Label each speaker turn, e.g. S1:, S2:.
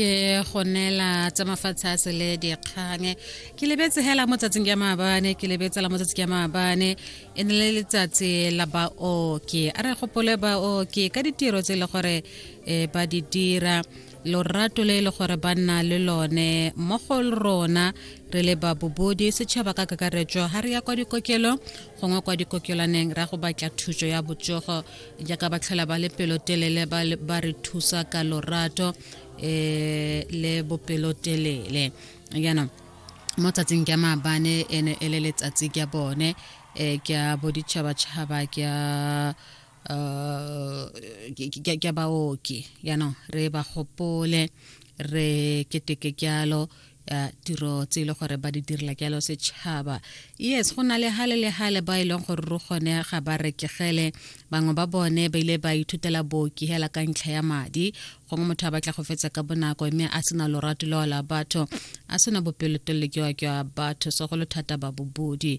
S1: Ke go neela tsa mafatshe a sele dikgang. Ke lebetse hela mo tsatsing ya maabane, ke lebetse la mo tsatsing ya maabane e ne le letsatsi la baoki. A re gopole baoki ka ditiro tse e le gore ba di dira, lorato le e le gore ba nna le lone mmogo le rona re le babobodi, setšhaba ka kakaretso. Ga re ya kwa dikokelong gongwe kwa dikokelwaneng ra go batla thuso ya botsogo, jaaka ba tlhola ba le pelotelele, ba re thusa ka lorato le bopelotelele. Jaanong mo tsatsing ke maabane e ne e le letsatsi ke bone, ke a boditšhabatšhaba, ke a baoki. Jaanong re ba gopole, re keteke jalo tiro tse e le gore ba di direla jalo setšhaba. Yes, go na le hale le hale ba e leng gore ro gone ga ba rekegele. Bangwe ba bone ba ile ba ithutela booki hela ka ntlha ya madi, gongwe motho a batla go fetsa ka bonako mme a sena lorato leo la batho, a sena bopelotelele jwa batho, segolo thata ba bobodi.